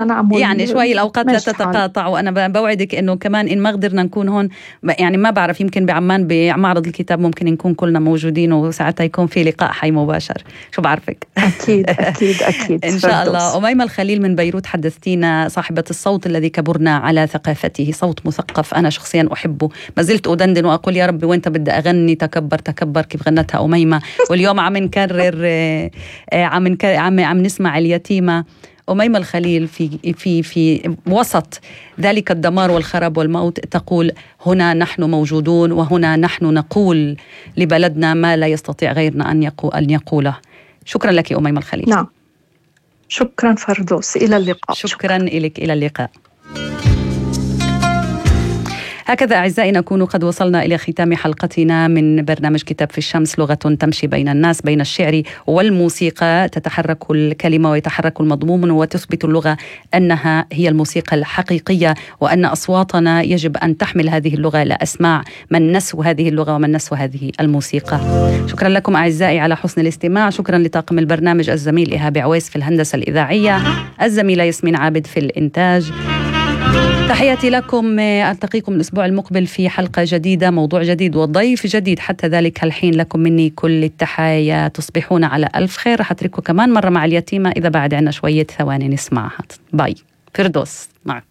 أنا أعمل يعني شوي الأوقات لا تتقاطع، وأنا بوعدك إنه كمان إن ما قدرنا نكون هون يعني ما بعرف، يمكن بعمان بمعرض الكتاب ممكن نكون كلنا موجودين وساعتها يكون في لقاء حي مباشر، شو بعرفك. أكيد أكيد أكيد إن شاء الله. أميمة الخليل من بيروت حدثتينا، صاحبة الصوت الذي كبرنا على ثقافته، صوت مثقف أنا شخصيا أحبه، ما زلت أدندن وأقول يا ربي وين بدي أغني تكبر تكبر كيف غنتها أميمة. واليوم عم نكرر عم نسمع اليتيمة. أميمة الخليل في وسط ذلك الدمار والخراب والموت تقول: هنا نحن موجودون، وهنا نحن نقول لبلدنا ما لا يستطيع غيرنا أن يقوله. شكرا لك أميمة الخليل. نعم، شكرا فردوس، إلى اللقاء. شكرا لك، إلى اللقاء. هكذا أعزائي نكون قد وصلنا إلى ختام حلقتنا من برنامج كتاب في الشمس، لغة تمشي بين الناس، بين الشعر والموسيقى، تتحرك الكلمة ويتحرك المضمون، وتثبت اللغة أنها هي الموسيقى الحقيقية، وأن أصواتنا يجب أن تحمل هذه اللغة إلى أسماع من نسوا هذه اللغة ومن نسوا هذه الموسيقى. شكرا لكم أعزائي على حسن الاستماع. شكرا لطاقم البرنامج، الزميل إيهاب عويس في الهندسة الإذاعية، الزميلة ياسمين عابد في الإنتاج. تحياتي لكم، ألتقيكم الأسبوع المقبل في حلقة جديدة، موضوع جديد وضيف جديد. حتى ذلك الحين لكم مني كل التحايا، تصبحون على ألف خير. رح أترككم كمان مرة مع اليتيمة إذا بعد عنا شوية ثواني نسمعها. باي. فردوس معكم.